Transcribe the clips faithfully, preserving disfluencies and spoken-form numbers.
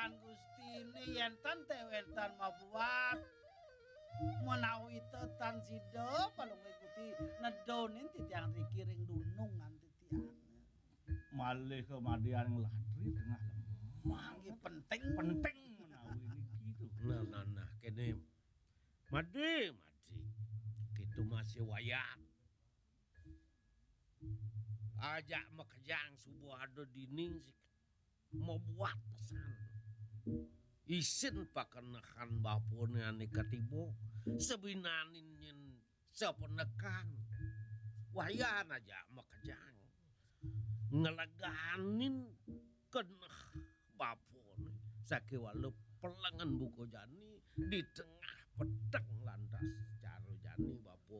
Gustiné yén tan té wénten mabuat menawi té tan sida palungguh Gusti nedonin titiang riki ring dunungan titiang. Malih kamadian latri tengah lemah. Mangke penting. Penting menawi niki to. Nah, nah, nah, kene. Madi, madi. Kitu masih wayan. Ajak makejang subuh ada dini sik mabuat pesan. Isin pakenehan bapane ane katiba, sabinanin nyen sapenekan. Wayan ajak makejang. Ngeleganin keneh bapane. Sakéwala pelengan buka jani di tengah peteng lantas cara jani bapa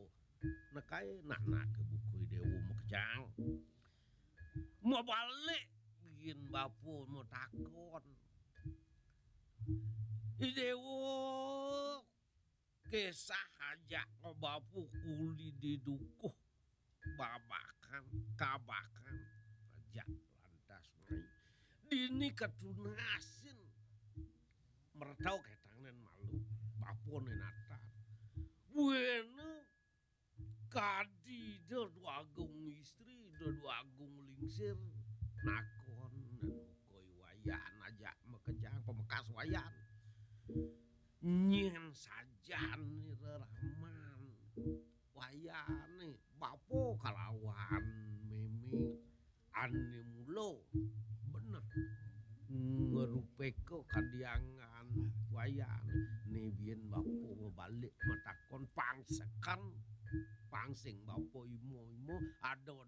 nekaé nak-nak ke buka Déwa makejang. Mabalik biin bapa matakon. I Déwa kesah ajak bapa kuli di dukuh babakan, kabakan ajak lantas mai. Dini katunasin mertau ketangnen malu, bapane natan. Buena kadi Ida Dwagung Istri, Ida Dwagung Lingsir, nakon nen muka i Wayan ajak makejang pamekas Wayan. Nyen sajan ira raman Wayane bapa kalawan meme ane mula beneh ngrupeka kadiangan Wayane. Ne biyen bapa mabalik matakon pang seken, pang sing bapa imo-imo, ada